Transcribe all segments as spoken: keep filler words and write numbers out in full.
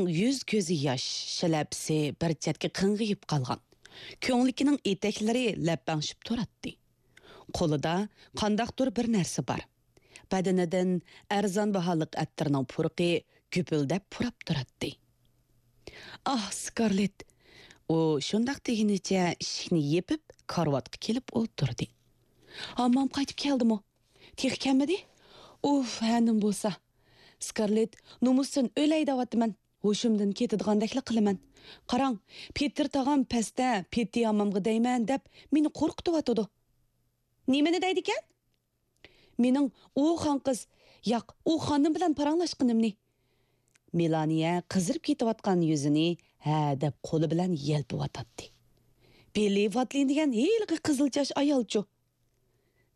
يۈز-كۆزى ياش، شىلەپىسى بىر چەتكە قىڭغىيىپ قالغان. كۆڭلىكىنىڭ ئېتەكلىرى لەپەڭشىپ تۇراتتى. قولىدا قانداقتۇر بىر نەرسە بار. بەدىنىدىن ئەرزان باھالىق ئەتىرنىڭ پۇرىقى گۈپۈلدەپ پۇراپ تۇراتتى. «ئاھ، سكارلېت!» ئۇ شۇنداق دېگىنىچە ئىشىكنى يېپىپ، كارىۋاتقا كېلىپ ئولتۇردى. «ھاممام قايتىپ كەلدىمۇ؟ تېخى كەلمىدى؟ ئۇف، ھە نېمە بولسا. سكارلېت، نومۇستىن ئۆلەي دەۋاتىمەن. ھوشۇمدىن كېتىدىغاندەكلا قىلىمەن. قاراڭ، پېتىر تاغام پەستە پېتى ھاممامغا دەيمەن دەپ مېنى قورقۇتۇۋاتىدۇ.» «نېمىنى دەيدىكەن؟» «مېنىڭ ئۇ خانقىز، ياق، ئۇ خانىم بىلەن پاراڭلاشقىنىمنى.» مېلانىيە قىزىرىپ كېتىۋاتقان يۈزىنى ھە دەپ قولى بىلەن يەلپۈۋاتاتتى. «بىللى ۋاتلىن دېگەن ھېلىقى قىزىل چاچ ئايالچۇ.»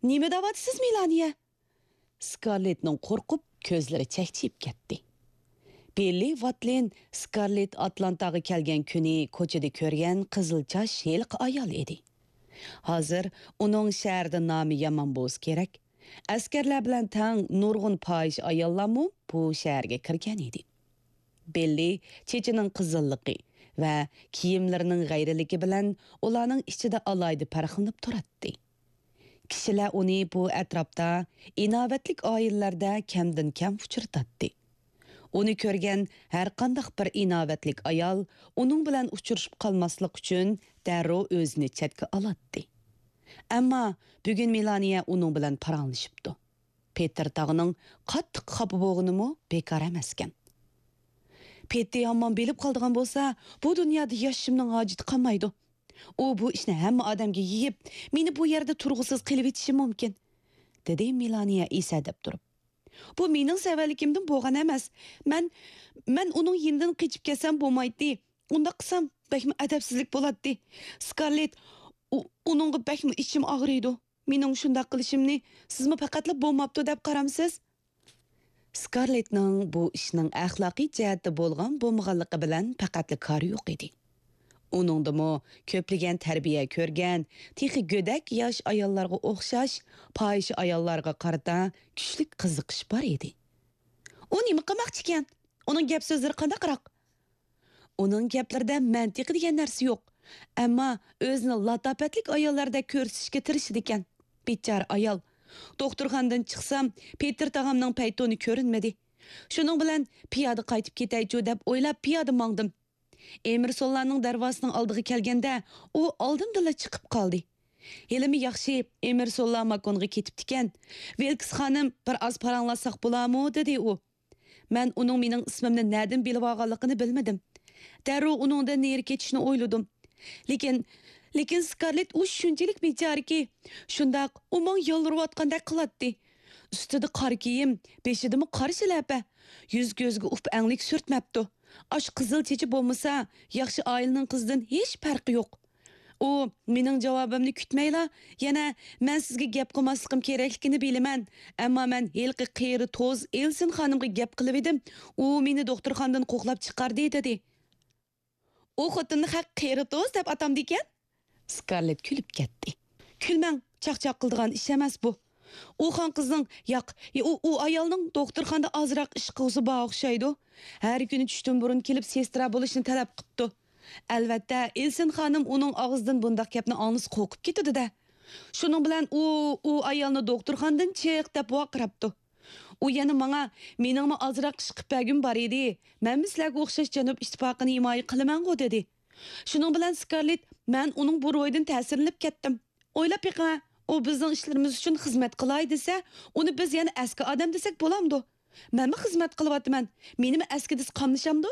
«نېمە دەۋاتىسىز، مېلانىيە؟» سكارلېتنىڭ قورقۇپ كۆزلىرى چەكچىيىپ كەتتى. بىللى ۋاتلىن سكارلېت ئاتلانتاغا كەلگەن كۈنى كوچىدا كۆرگەن قىزىل چاچ ھېلىقى ئايال ئىدى. ھازىر ئۇنىڭ شەھەردە نامى يامان بولسا كېرەك، ئەسكەرلەر بىلەن تەڭ نۇرغۇن پاھىشە ئاياللارمۇ بۇ شەھەرگە كىرگەن ئىدى. بىللى چېچىنىڭ قىزىللىقى ۋە كىيىملىرىنىڭ غەيرىيلىكى بىلەن ئۇلارنىڭ ئىچىدە ئالاھىدە پەرقلىنىپ تۇراتتى. كىشىلەر ئۇنى بۇ ئەتراپتا ئىناۋەتلىك ئائىلىلەردە كەمدىن كەم ئۇچرىتاتتى. ئۇنى كۆرگەن ھەرقانداق بىر ئىناۋەتلىك ئايال ئۇنىڭ بىلەن ئۇچرىشىپ قالماسلىق ئۈچۈن دەررۇ ئۆزىنى چەتكە ئالاتتى. ئەمما بۈگۈن مېلانىيە ئۇنىڭ بىلەن پاراڭلىشىپتۇ. پېتىر تاغنىڭ قاتتىق خاپا بولغىنىمۇ بىكار ئەمەسكەن. «پېتى ھاممام بىلىپ قالىدىغان بولسا، بۇ دۇنيادا ياشىشىمنىڭ ھاجىتى قالمايدۇ. ئۇ بۇ ئىشنى ھەممە ئادەمگە يېيىپ، مېنى بۇ يەردە تۇرغۇسىز قىلىۋېتىشى مۇمكىن»، دېدى مېلانىيە ئېسەدەپ تۇرۇپ. «بۇ مېنىڭ سەۋەنلىكىمدىن بولغان ئەمەس. مەن، مەن ئۇنىڭ يېنىدىن قېچىپ كەتسەم بولمايتتى. ئۇنداق قىلسام بەكمۇ ئەدەپسىزلىك بولاتتى. سكارلېت، ئۇ، ئۇنىڭغا بەكمۇ ئىچىم ئاغرىيدۇ. مېنىڭ شۇنداق قىلىشىمنى سىزمۇ پەقەتلا بولماپتۇ دەپ قارامسىز؟» سكارلېتنىڭ بۇ ئىشنىڭ ئەخلاقىي جەھەتتە بولغان بولمىغانلىقى بىلەن پەقەتلا كارى يوق ئىدى. ئۇنىڭدىمۇ كۆپلىگەن تەربىيە كۆرگەن، تېخى گۆدەك ياش ئاياللارغا ئوخشاش پاھىشە ئاياللارغا قارىتا كۈچلۈك قىزىقىش بار ئىدى. «ئۇ نېمە قىلماقچىكەن؟ ئۇنىڭ گەپ سۆزلىرى قانداقراق؟» «ئۇنىڭ گەپلىرىدە مەنتىقى دېگەن نەرسە يوق. ئەمما ئۆزىنى لاتاپەتلىك ئاياللاردەك كۆرسىتىشكە تىرىشىدىكەن. بىچارە ئايال. دوختۇرخانىدىن چىقسام، پېتىر تاغامنىڭ پەيتۇنى كۆرۈنمىدى. شۇنىڭ بىلەن پىيادە قايتىپ كېتەيچۇ دەپ ئويلاپ پىيادە ماڭدىم. ئېمېرسونلارنىڭ دەرۋازىسىنىڭ ئالدىغا كەلگەندە، ئۇ ئالدىمدىلا چىقىپ قالدى. ھېلىمۇ ياخشى، ئېمېرسونلار ماكونغا كېتىپتىكەن. ۋىلكس خانىم، بىر ئاز پاراڭلاشساق بولامۇ؟» دېدى ئۇ. مەن ئۇنىڭ مېنىڭ ئىسمىمنى نەدىن بىلىۋالغانلىقىنى بىلمىدىم. دەررۇ ئۇنىڭدىن نېرى كېتىشنى ئويلىدىم. لېكىن، لېكىن سكارلېت ئۇ شۇنچىلىك بىچارىكى، شۇنداق ئۇ ماڭا يالۋۇرۇۋاتقاندەك قىلاتتى. ئۈستىدە قارا كىيىم، بېشىدىمۇ قارا شىلەپە. يۈز-كۆزىگە ئۇپا-ئەڭلىك سۈرتمەپتۇ. ئاشۇ قىزىل چېچى بولمىسا، ياخشى ئائىلىنىڭ قىزىدىن ھېچ پەرقى يوق. ئۇ، مېنىڭ جاۋابىمنى كۈتمەيلا، يەنە، «مەن سىزگە گەپ قىلماسلىقىم كېرەكلىكىنى بىلىمەن، ئەمما مەن ھېلىقى قېرى توز ئېلسىن خانىمغا گەپ قىلىۋىدىم، ئۇ مېنى دوختۇرخانىدىن قوغلاپ چىقاردى» دېدى. «ئۇ خوتۇننى خەق قېرى توز دەپ ئاتامدىكەن؟» سكارلېت كۈلۈپ كەتتى. «كۈلمەڭ، چاقچاق قىلىدىغان ئىش ئەمەس بۇ. ئۇ خانقىزنىڭ، ياق، ئۇ، ئۇ ئايالنىڭ دوختۇرخانىدا ئازراق ئىش قىلغۇسى بار ئوخشايدۇ. ھەر كۈنى چۈشتىن بۇرۇن كېلىپ سېسترا بولۇشنى تەلەپ قىپتۇ.» ئەلۋەتتە، ئېلسىن خانىم ئۇنىڭ ئاغزىدىن بۇنداق گەپنى ئاڭلىسا قورقۇپ كېتىدۇ-دە. شۇنىڭ بىلەن ئۇ، ئۇ ئايالنى دوختۇرخانىدىن چىق دەپ ۋارقىراپتۇ. ئۇ يەنە ماڭا، «مېنىڭمۇ ئازراق ئىش قىلىپ بەرگۈم بار ئىدى، مەنمۇ سىلەرگە ئوخشاش جەنۇب ئىتتىپاقىنى ھىمايە قىلىمەنغۇ» دېدى. شۇنىڭ بىلەن سكارلېت، مەن ئۇنىڭ بۇ روھىدىن تەسىرلىنىپ كەتتىم. ئويلاپ بېقىڭە، ئۇ بىزنىڭ ئىشلىرىمىز ئۈچۈن خىزمەت قىلاي دېسە، ئۇنى بىز يەنە ئەسكى ئادەم دېسەك بولامدۇ؟ مەنمۇ خىزمەت قىلىۋاتىمەن، مېنىمۇ ئەسكى دېسە قاملىشامدۇ؟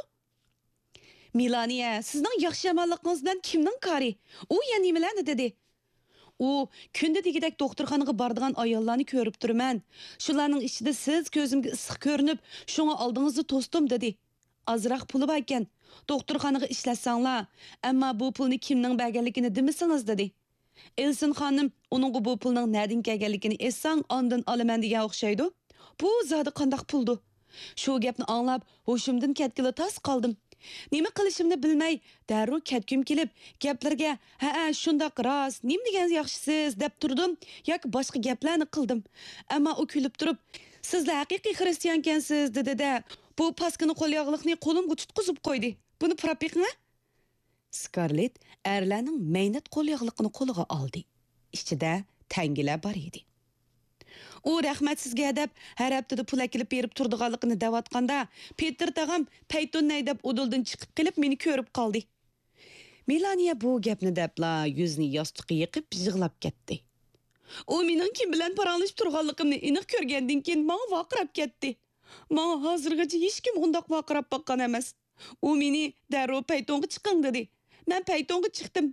مېلانىيە، سىزنىڭ ياخشى-يامانلىقىڭىز بىلەن كىمنىڭ كارى؟ ئۇ يەنە نېمىلەرنى دېدى؟ ئۇ، كۈندە دېگۈدەك دوختۇرخانىغا بارىدىغان ئاياللارنى كۆرۈپ تۇرىمەن. شۇلارنىڭ ئىچىدە سىز كۆزۈمگە ئىسسىق كۆرۈنۈپ، شۇڭا ئالدىڭىزدا توستۇم، دېدى. ئازراق پۇلى باركەن، دوختۇرخانىغا ئىشلەتسەڭلار، ئەمما بۇ پۇلنى كىمنىڭ بەرگەنلىكىنى دېمىسىڭىز، دېدى. ئېلسىن خانىم، ئۇنىڭغا بۇ پۇلنىڭ نەدىن كەلگەنلىكىنى ئېيتساڭ، ئاندىن ئالىمەن دېگەن ئوخشايدۇ. بۇ زادى قانداق پۇلدۇ؟ شۇ گەپنى ئاڭلاپ، ھوشۇمدىن كەتكىلى تاس قالدىم. نېمە قىلىشىمنى بىلمەي، دەررۇ كەتكۈم كېلىپ، گەپلىرىگە، «ھەئە، شۇنداق، راست، نېمە دېگەن ياخشىسىز» دەپ تۇردۇم ياكى باشقا گەپلەرنى قىلدىم. ئەمما ئۇ كۈلۈپ تۇرۇپ، «سىزلا ھەقىقىي خىرىستىيانكەنسىز» دېدى-دە، بۇ پاسكىنا قول ياغلىقنى قولۇمغا تۇتقۇزۇپ قويدى. بۇنى پۇراپ بېقىڭە. سكارلېت ئەرلەرنىڭ مەينەت قول ياغلىقىنى قولىغا ئالدى. ئىچىدە تەڭگىلەر بار ئىدى. ئۇ رەھمەتسىزگە دەپ ھەر ھەپتىدە پۇل ئەكېلىپ بېرىپ تۇرىدىغانلىقىنى دەۋاتقاندا، پېتىر تاغام پەيتۇننەي دەپ ئۇدۇلدىن چىقىپ قېلىپ مېنى كۆرۈپ قالدى. مېلانىيە بۇ گەپنى دەپلا يۈزىنى ياستۇققا يېقىپ يىغلاپ كەتتى. ئۇ مېنىڭ كىم بىلەن پاراڭلىشىپ تۇرغانلىقىمنى ئېنىق كۆرگەندىن كېيىن ماڭا ۋارقىراپ كەتتى. ماڭا ھازىرغىچە ھېچكىم ئۇنداق ۋارقىراپ باققان ئەمەس. ئۇ مېنى دەررۇ پەيتۇنغا چىقىڭ دېدى. مەن پەيتۇنغا چىقتىم.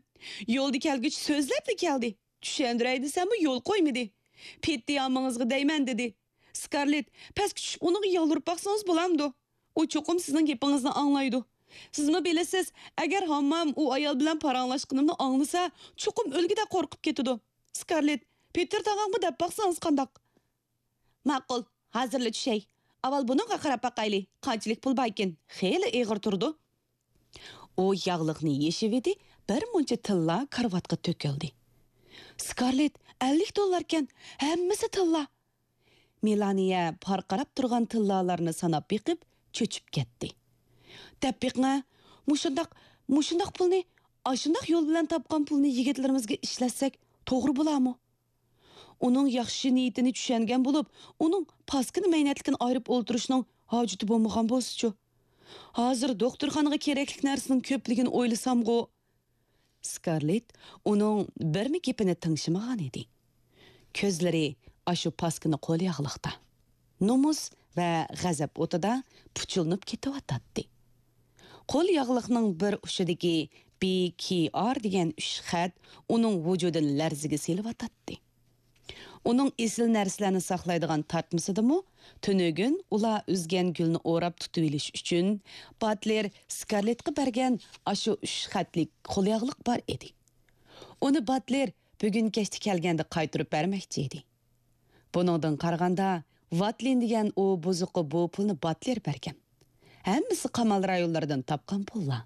يولدا كەلگۈچە سۆزلەپلا كەلدى. چۈشەندۈرەي دېسەممۇ يول قويمىدى. پېتى ئامىڭىزغا دەيمەن دېدى. سكارلېت، پەسكە چۈشۈپ ئۇنىڭغا يالۋۇرۇپ باقسىڭىز بولامدۇ؟ ئۇ چوقۇم سىزنىڭ گېپىڭىزنى ئاڭلايدۇ. سىزمۇ بىلىسىز، ئەگەر ھاممام ئۇ ئايال بىلەن پاراڭلاشقىنىمنى ئاڭلىسا، چوقۇم ئۆلگۈدەك قورقۇپ كېتىدۇ. سكارلېت، پېتىر تاغاڭغا دەپ باقسىڭىز قانداق؟ ماقۇل، ھازىرلا چۈشەي. ئاۋۋال بۇنىڭغا قاراپ باقايلى، قانچىلىك پۇل باركىن، خېلى ئېغىر تۇرىدۇ. ئۇ ياغلىقنى يېشىۋىدى، بىر مۇنچە تىللا كارىۋاتقا تۆكۈلدى. سكارلېت، ئەللىك دوللاركەن، ھەممىسى تىللا. مېلانىيە پارقىراپ تۇرغان تىللالارنى ساناپ بېقىپ، چۆچۈپ كەتتى. دەپ بېقىڭە، مۇشۇنداق، مۇشۇنداق پۇلنى، ئاشۇنداق يول بىلەن تاپقان پۇلنى يىگىتلىرىمىزگە ئىشلەتسەك توغرا بولارمۇ؟ ئۇنىڭ ياخشى نىيىتىنى چۈشەنگەن بولۇپ، ئۇنىڭ پاسكىنا مەينەتلىكىنى ئايرىپ ئولتۇرۇشنىڭ ھاجىتى بولمىغان بولسىچۇ؟ ھازىر دوختۇرخانىغا كېرەكلىك نەرسىنىڭ كۆپلۈكىنى ئويلىسامغۇ. سكارلېت ئۇنىڭ بىرمۇ گېپىنى تىڭشىمىغانىدى. كۆزلىرى ئاشۇ پاسكىنا قول ياغلىقتا، نومۇس ۋە غەزەپ ئوتىدا پۇچۇلىنىپ كېتىۋاتاتتى. قول ياغلىقنىڭ بىر ئۇچىدىكى بى كى ئار دېگەن ئۈچ خەت ئۇنىڭ ۋۇجۇدىنى لەرزىگە سېلىۋاتاتتى. ئۇنىڭ ئېسىل نەرسىلەرنى ساقلايدىغان تارتمىسىدىمۇ تۈنۈگۈن ئۇلار ئۈزگەن گۈلنى ئوراپ تۇتۇۋېلىش ئۈچۈن باتلېر سكارلېتقا بەرگەن ئاشۇ ئۈچ خەتلىك قول ياغلىق بار ئىدى. ئۇنى باتلېر بۈگۈن كەچتە كەلگەندە قايتۇرۇپ بەرمەكچى ئىدى. بۇنىڭدىن قارىغاندا، ۋاتلىن دېگەن ئۇ بۇزۇققا بۇ پۇلنى باتلېر بەرگەن. ھەممىسى قامال رايونلىرىدىن تاپقان پۇللار.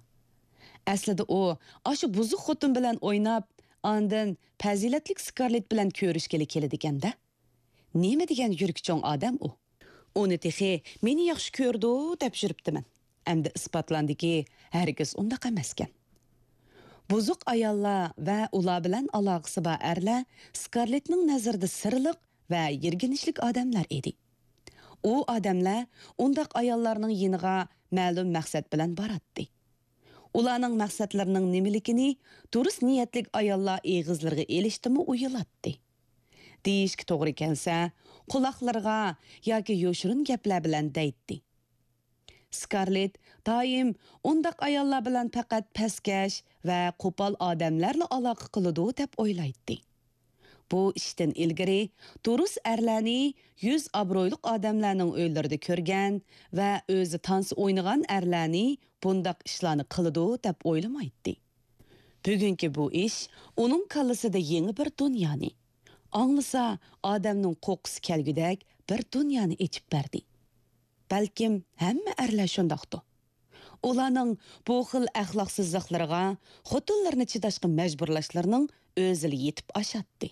ئەسلىدە ئۇ ئاشۇ بۇزۇق خوتۇن بىلەن ئويناپ، ئاندىن پەزىلەتلىك سكارلېت بىلەن كۆرۈشكىلى كېلىدىكەن-دە. نېمە دېگەن يۈرىكى چوڭ ئادەم ئۇ! ئۇنى تېخى مېنى ياخشى كۆرىدۇ دەپ يۈرۈپتىمەن. ئەمدى ئىسپاتلاندىكى، ھەرگىز ئۇنداق ئەمەسكەن. بۇزۇق ئاياللار ۋە ئۇلار بىلەن ئالاقىسى بار ئەرلەر سكارلېتنىڭ نەزىرىدە سىرلىق ۋە يىرگىنچلىك ئادەملەر ئىدى. ئۇ ئادەملەر ئۇنداق ئاياللارنىڭ يېنىغا مەلۇم مەقسەت بىلەن باراتتى. ئۇلارنىڭ مەقسەتلىرىنىڭ نېمىلىكىنى دۇرۇس نىيەتلىك ئاياللار ئېغىزلىرىغا ئېلىشتىمۇ ئۇيىلاتتى. دېيىشكە توغرا كەلسە، قۇلاقلىرىغا ياكى يوشۇرۇن گەپلەر بىلەن دەيتتى. سكارلېت دائىم ئۇنداق ئاياللار بىلەن پەقەت پەسكەش ۋە قوپال ئادەملەرلا ئالاقە قىلىدۇ دەپ ئويلايتتى. بۇ ئىشتىن ئىلگىرى دۇرۇس ئەرلەرنى يۈز ئابرۇيلۇق ئادەملەرنىڭ ئۆيلىرىدە كۆرگەن ۋە ئۆزى تانسا ئوينىغان ئەرلەرنى بۇنداق ئىشلارنى قىلىدۇ دەپ ئويلىمايتتى. بۈگۈنكى بۇ ئىش ئۇنىڭ كاللىسىدا يېڭى بىر دۇنيانى، ئاڭلىسا ئادەمنىڭ قورققۇسى كەلگۈدەك بىر دۇنيانى ئېچىپ بەردى. بەلكىم ھەممە ئەرلەر شۇنداقتۇ. ئۇلارنىڭ بۇ خىل ئەخلاقسىزلىقلىرىغا، خوتۇنلىرىنى چىداشقا مەجبۇرلاشلىرىنىڭ ئۆزىلا يېتىپ ئاشاتتى.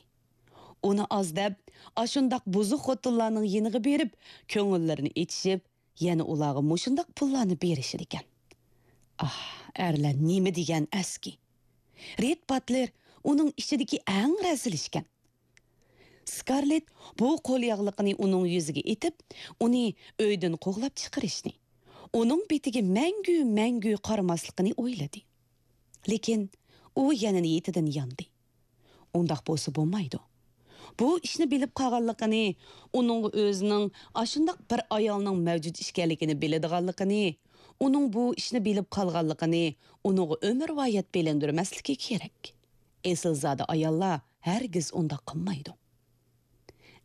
ئۇنى ئاز دەپ، ئاشۇنداق بۇزۇق خوتۇنلارنىڭ يېنىغا بېرىپ، كۆڭۈللىرىنى ئېچىشىپ، يەنە ئۇلارغا مۇشۇنداق پۇللارنى بېرىشىدىكەن. ئاھ، ئەرلەر نېمە دېگەن ئەسكى! رېد باتلېر ئۇنىڭ ئىچىدىكى ئەڭ رەزىلى ئىكەن. سكارلېت بۇ قول ياغلىقىنى ئۇنىڭ يۈزىگە ئېتىپ، ئۇنى ئۆيدىن قوغلاپ چىقىرىشنى، ئۇنىڭ بېتىگە مەڭگۈ، مەڭگۈ قارىماسلىقىنى ئويلىدى. لېكىن ئۇ يەنە نىيىتىدىن ياندى. ئۇنداق بولسا بولمايدۇ. بۇ ئىشنى بىلىپ قالغانلىقىنى، ئۇنىڭغا ئۆزىنىڭ ئاشۇنداق بىر ئايالنىڭ مەۋجۇت ئىكەنلىكىنى بىلىدىغانلىقىنى، ئۇنىڭ بۇ ئىشنى بىلىپ قالغانلىقىنى ئۇنىڭغا ئۆمۈرۋايەت بىلىندۈرمەسلىكى كېرەك. ئېسىلزادە ئاياللار ھەرگىز ئۇنداق قىلمايدۇ.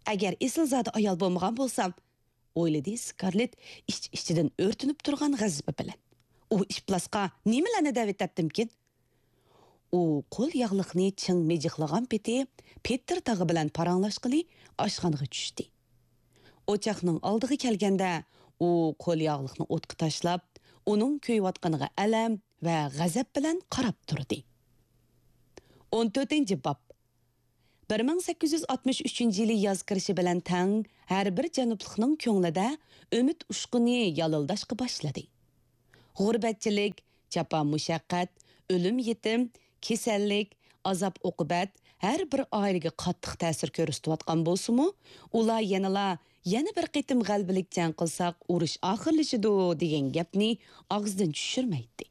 ئەگەر ئېسىلزادە ئايال بولمىغان بولسام، ئويلىدى سكارلېت ئىچ-ئىچىدىن ئۆرتىنىپ تۇرغان غەزىپى بىلەن. ئۇ ئىپلاسقا نېمىلەرنى دەۋېتەتتىمكىن؟ ئۇ قول ياغلىقنى چىڭ مىجىقلىغان پېتى پېتىر تاغا بىلەن پاراڭلاشقىلى ئاشخانىغا چۈشتى. ئوچاقنىڭ ئالدىغا كەلگەندە، ئۇ قول ياغلىقنى ئوتقا تاشلاپ، ئۇنىڭ كۆيۈۋاتقىنىغا ئەلەم ۋە غەزەپ بىلەن قاراپ تۇردى. ئون تۆتىنچى باب. بىر مىڭ سەككىز يۈز ئاتمىش ئۈچىنچى يىلى ياز كىرىشى بىلەن تەڭ ھەر بىر جەنۇبلۇقنىڭ كۆڭلىدە ئۈمىد ئۇچقۇنى يالىلداشقا باشلىدى. غۇربەتچىلىك، جاپا-مۇشەققەت، ئۆلۈم-يېتىم، كېسەللىك، ئازاب-ئوقۇبەت ھەر بىر ئائىلىگە قاتتىق تەسىر كۆرسىتىۋاتقان بولسىمۇ، ئۇلار يەنىلا يەنە بىر قېتىم غەلىبىلىك جەڭ قىلساق، ئۇرۇش ئاخىرلىشىدۇ دېگەن گەپنى ئاغزىدىن چۈشۈرمەيتتى.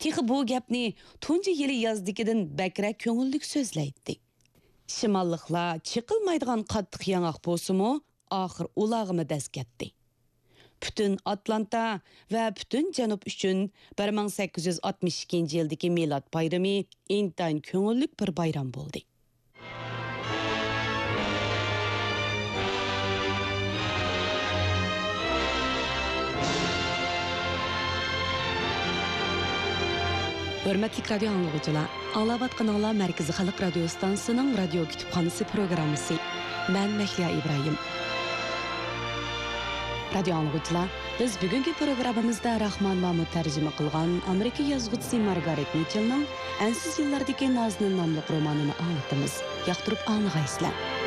تېخى بۇ گەپنى تۇنجى يىلى يازدىكىدىن بەكرەك كۆڭۈللۈك سۆزلەيتتى. شىماللىقلار چېقىلمايدىغان قاتتىق ياڭاق بولسىمۇ، ئاخىر ئۇلارغىمۇ دەز كەتتى. پۈتۈن ئاتلانتا ۋە پۈتۈن جەنۇب ئۈچۈن بىر مىڭ سەككىز يۈز ئاتمىش ئىككىنچى يىلدىكى مىلاد بايرىمى ئىنتايىن كۆڭۈللۈك بىر بايرام بولدى. ھۆرمەتلىك رادىيو ئاڭلىغۇچىلار، ئاڭلاۋاتقىنىڭلار مەركىزىي خەلق رادىيو ستانسىسىنىڭ رادىيو كۇتۇپخانىسى پروگراممىسى. مەن مەھلىيا ئىبراھىم. رادىيو ئاڭلىغۇچىلار، بىز بۈگۈنكى پروگراممىمىزدا راخمان مامۇت تەرجىمە قىلغان ئامېرىكا يازغۇچىسى مارگارېت مىچېلنىڭ ئەنسىز يىللاردىكى نازنىن ناملىق رومانىنى ئاڭلىتىمىز. ياقتۇرۇپ ئاڭلىغايسىلەر.